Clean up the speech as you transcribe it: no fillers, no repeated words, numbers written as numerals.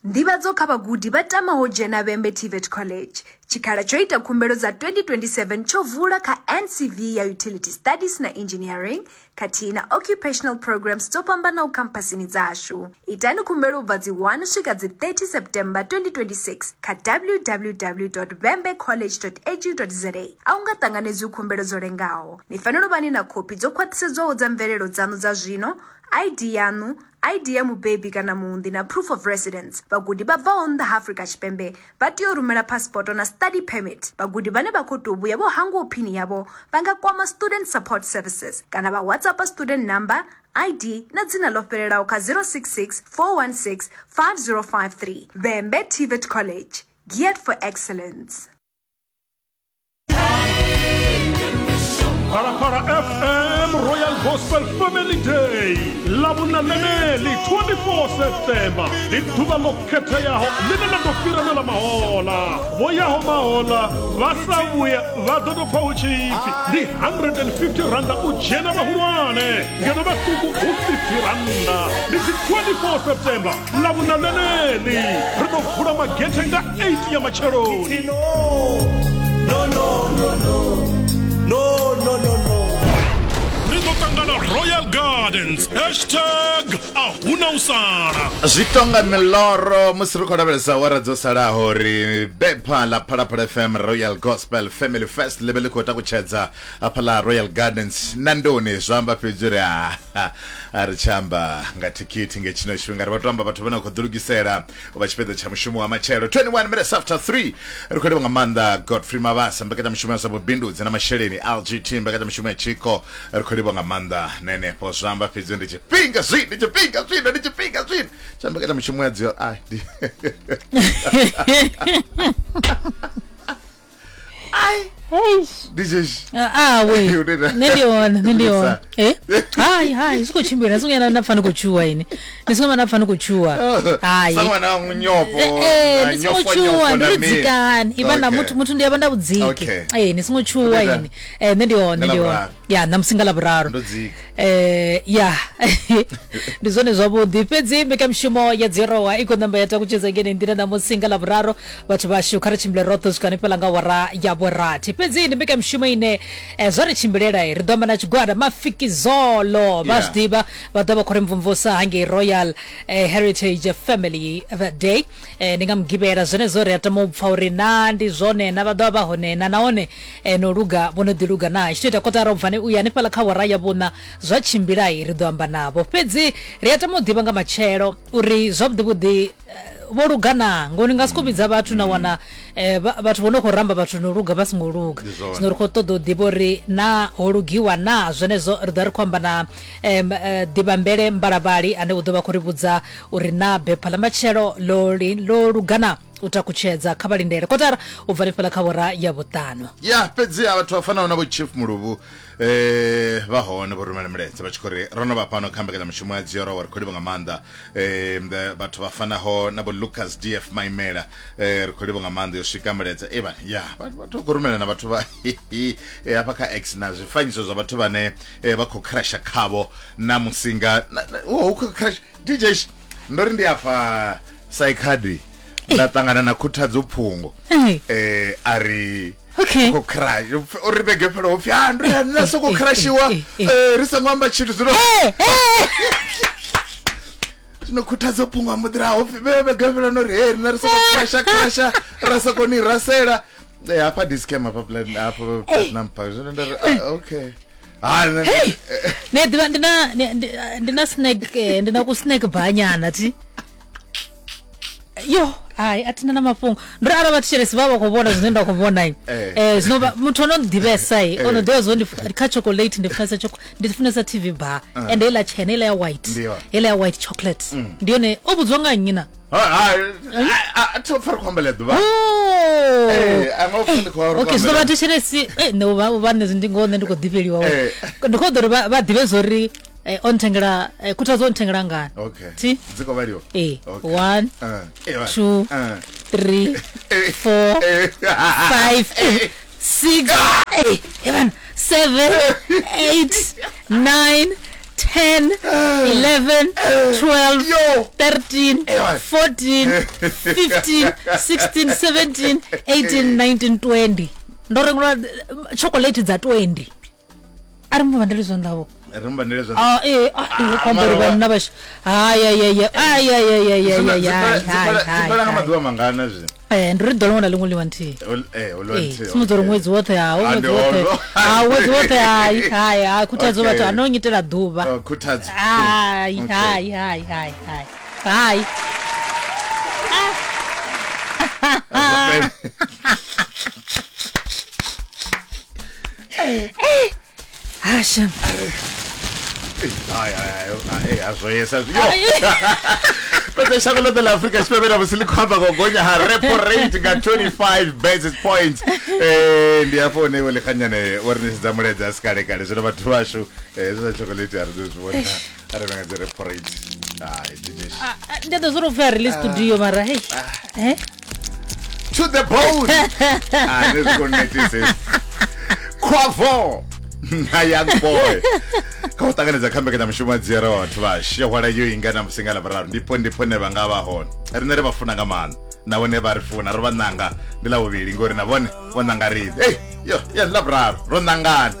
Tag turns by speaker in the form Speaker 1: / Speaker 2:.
Speaker 1: Nḓivhadzo kha vhagudi vha tamaho u dzhena Vhembe TVET College. Tshikhala tsho ita khumbelo dza 2027 tsho vula kha NCV ya Utility Studies na Engineering khathihi na Occupational Programmes dzo fhambanaho khamphasini dzashu. Itani khumbelo u bva dzi 1 u swika dzi 30 September 2026 kha www.vhembecollege.edu.za. A hu nga ṱanganedzwi khumbelo dzo lengaho. Ni fanela u vha ni na khophi dzo khwaṱhisedzwaho dza mvelelo dzaṋu dza zwino, ID yaṋu, ID ya mubebi kana muunḓi na proof of residence. Vhagudi vha bvaho nnḓa ha Afrika Tshipembe vha tea u rumela phasipoto na study permit. Vhagudi vhane vha khou tou vhuya vho hangwaho phini yavho vha nga kwama Student Support Services kana vha WhatsAppa student number, ID na dzina ḽo fhelelaho kha 066 416 5053. Vhembe TVET College, geared for excellence.
Speaker 2: Phalaphala FM Royal Gospel Family Day ḽavhuna ḽeneḽi 24 September ndi ḓuvha ḽo khetheaho ḽine ḽa ḓo fhira na ḽa mahola vho yaho mahola vha sa vhuya vha ḓo tou pfa hu tshi pfi ndi 150 randa u dzhena vhahulwane ngeno vhaṱuku hu 50 randa ndi dzi 24 September ḽavhuna ḽeneḽi ri ḓo vula magethe nga 8 ya matsheloni
Speaker 3: No, no, no, no, no, no, no, no.
Speaker 2: ri ḓo ṱangana royal gardens hashtag a huna u sala
Speaker 4: zwi tonga miloro musi ri khou lavhelesa awara dzo salaho ri bepha ḽa phalaphala fm royal gospel family fest ḽi vhe ḽi khou takutshedza hafhaḽa royal gardens na ndoni zwa amba fhedzi uri a a ri tshi amba nga thikhithi nge tshino tshifhinga ri vha to amba vhathu vhane vha khou ḓilugisela u vha tshipiḓa tsha mushumo wa matshelo 21 minutes after 3 ri khou livha nga maanḓa godfrey mabasa mbekanyamushumo ya zwa vhubindudzi na masheleni lgt mbekanyamushumo ya tshiko ri khou livha nga maanḓa na henefho zwa amba fhedzi ndi tshifhinga zwino ndi tshifhinga zwino ndi tshifhinga zwino tsha mbekanyamushumo ya dzio ai ndi ai ndi tshezwi
Speaker 5: awe nṋe ndi hone nṋe ndi hone eh hai hai zwi khou tshimbila ni songo ya na pfa ni khou tshuwa ini ni songo vha na pfa ni khou tshuwa hai
Speaker 4: sa ṅwana wa nyofho
Speaker 5: Eh,
Speaker 4: na
Speaker 5: ni songo
Speaker 4: nyofho
Speaker 5: tshuwa
Speaker 4: nyofho
Speaker 5: ndi
Speaker 4: na
Speaker 5: ri
Speaker 4: mini.
Speaker 5: dzikani ivha na
Speaker 4: Okay.
Speaker 5: muthu muthu ndi avha nda vhudziki
Speaker 4: Okay.
Speaker 5: eh ni songo tshuwa
Speaker 4: Ndi
Speaker 5: ini eh nṋe ndi hone
Speaker 4: Nga
Speaker 5: ndi hone
Speaker 4: Ḽavhuraru.
Speaker 5: ya ṋamusi nga ḽavhuraru
Speaker 4: Ndo dzika.
Speaker 5: eh ya ndi zwone zwavhuḓi fhedzi mbekanyamushumo ya dzirowa i khou namba ya takutshedza ngene nḓila ṋamusi nga ḽavhuraru vhathu vhashu kha ri tshimbile roṱhe u swika hanefhaḽa nga wara ya vhurathi fhedzi ndi mbekanyamushumo ine eh, zwa ri tshimbilela ri ḓo amba na tshigwada mafikizolo vha
Speaker 4: Yeah.
Speaker 5: zwi ḓivha vha ḓo vha khou ri mvumvusa hangei royal eh, heritage family day eh, ndi nga mugivhela zwenezwo ri a tama u pfa uri na ndi zwone na vha ḓo vha vha hone na nahone eh, no luga vho no ḓi luga na tshi to ita kotara u bva u ya hanefhaḽa kha wara ya vhuṋa zwa tshimbilai ri ḓo amba navho fhedzi ri a tama u ḓivha nga matshelo uri zwavhuḓi vhuḓi eh, vho luga na ngori nga siko vhidza vhathu na wana eh, vhathu vho no khou ramba vhathu no luga vha songo luga
Speaker 4: Ndi zwone.
Speaker 5: zwino ri khou ṱoḓa u ḓivha uri na ho lugiwa na zwenezwo ri ḓo ri khou amba na ḓivhambele mbalavhali ane u ḓo vha khou ri vhudza uri na bepha ḽa matshelo ḽo ḽo luga na u takutshedza kha vhalindele kotara u bva hanefhaḽa kha wora ya vhuṱanu
Speaker 4: ya fhedziha vhathu vha fanaho na vho chief muluvhu eh vha hone vho rumela milaedza vha tshi khou ri ro no vha fhano kha mbekanyamushumo ya dzioro ri khou livha nga maanḓa eh vhathu vha fanaho na vho lucas df maimela eh ri khou livha nga maanḓa yo swika milaedza e vha ya vhathu vha khou rumela na vhathu vha eh, hafha kha x na zwifanyiso zwa vhathu vhane eh, vha khou crasha khavho na musinga hu khou crash dj ndo ri ndi afha saikhadi nda ṱangana na khuthadzo phungo eh a ri
Speaker 5: Okay.
Speaker 4: khou crash o ri vhege fhela ho pfi ah ndo ya nda soko crashiwa eh ri songo amba tshithu zwino zwino khuthadzo phungo a mbo ḓi ra ho pfi vhe vhege fhela no ri he rina ri soko crasha crasha ra soko ni rasela eh hafha di scam hafha plan hafha platinum park zwino nda ri ah, okay ha nṋe-
Speaker 5: Hey! Ne ḓivha ndi na ndi na snack eh, ndi na ku snack bar nyana thi yo hai a thina na mafhungo ndo ri arali vhathetshelesi vha vha khou vhona zwine nda khou vhona i
Speaker 4: Eh.
Speaker 5: eh zwino muthu ono ḓivhesa i ono
Speaker 4: Eh.
Speaker 5: ḓivha zwo ndi kha chocolate ndi funesa choco ndi funesa tv bar and heiḽa tshena heiḽa ya white
Speaker 4: Ndi yone.
Speaker 5: heiḽa ya white chocolate ndi yone o vhudzwa nga nnyi na
Speaker 4: Ha, ha, a thi pfa ri khou ambela ḓuvha
Speaker 5: Oh.
Speaker 4: Eh, a nga upfa ndi khou ri khou
Speaker 5: okay zwino
Speaker 4: ambela.
Speaker 5: vhathetshelesi eh, nṋe u vha u vha nṋe ndi ngoho nṋe ndi khou ḓifheliwa
Speaker 4: Eh.
Speaker 5: ndi khou ḓo uri vha ḓivhe zwori eh, o nthengela eh, khuthadzo o nthengela ngani
Speaker 4: okay
Speaker 5: thi
Speaker 4: dzi khou vhaliwa
Speaker 5: ee
Speaker 4: Okay.
Speaker 5: 1
Speaker 4: Eh, eh,
Speaker 5: 2
Speaker 4: eh.
Speaker 5: 3
Speaker 4: Eh,
Speaker 5: 4
Speaker 4: eh.
Speaker 5: 5 6 7 8 9 10 10 11 12
Speaker 4: Yo.
Speaker 5: 13
Speaker 4: Ewa.
Speaker 5: 14 15 16 17 18 19 20. Ndo rengelwa chocolate dza 20. A ri muvhandeli zwanḓa vho.
Speaker 4: Ri muvhandele zwanḓa.
Speaker 5: Ah, eh, ah, ndi khou amba uri
Speaker 4: mara-
Speaker 5: vhanna vhashu. Hai, hai, hai, hai, hai, hai, hai, hai, hai,
Speaker 4: Dzi
Speaker 5: hai,
Speaker 4: fhela
Speaker 5: hai,
Speaker 4: nga
Speaker 5: hai.
Speaker 4: maḓuvha mangana zwino?
Speaker 5: Eh, ndi uri ḓuvha liṅwe na liṅwe ḽiwa nthihi.
Speaker 4: Ol-
Speaker 5: Eh,
Speaker 4: nthihi,
Speaker 5: sumbedza uri
Speaker 4: okay.
Speaker 5: ṅwedzi woṱhe ha
Speaker 4: Ah,
Speaker 5: ṅwedzi
Speaker 4: ndi
Speaker 5: woṱhe
Speaker 4: holo.
Speaker 5: ha ṅwedzi woṱhe hai hai hai khuthadzo
Speaker 4: Okay.
Speaker 5: vhathu a no nyitela ḓuvha.
Speaker 4: Oh, khuthadzo.
Speaker 5: Hai
Speaker 4: Okay.
Speaker 5: hai hai hai hai hai. Hasha.
Speaker 4: Hai, hai, hai, hai, zwo yesa zwi- Yo! Fhedza shango ḽoṱhe ḽa Afrika Tshipembe na musi ḽi khou amba nga u gonya ha repo rate nga 25 basis points. Ndi hafho hune iwe ḽikganyane wo ri ṋetshedza mulaedza a si kale kale. Zwino vhathu vhashu hezwi zwa chocolate a ri ḓo zwi vhona arali vha nga dzi repo rate. Hai, DJ.
Speaker 5: Ndi ḓo zwo ri pfha ri li studio mara hey. Eh?
Speaker 4: To the bone. Ah, ne zwi khou netisa hezwi. Quavo na young boy kha u ṱanganedza kha mbekanyamushumo ya dzia ra vhathu vhashu yo hwala yo inga na musi nga ḽavhuraru ndipo ndipo ne vha nga vha hone riṋe ri vha funa nga maanḓa na vhone vha ri funa ro vha ṋanga ndi ḽa vhuvhili ngori na vhone vho ṋanga riṋe ei yo ya ndi ḽavhuraru ro ṋangana.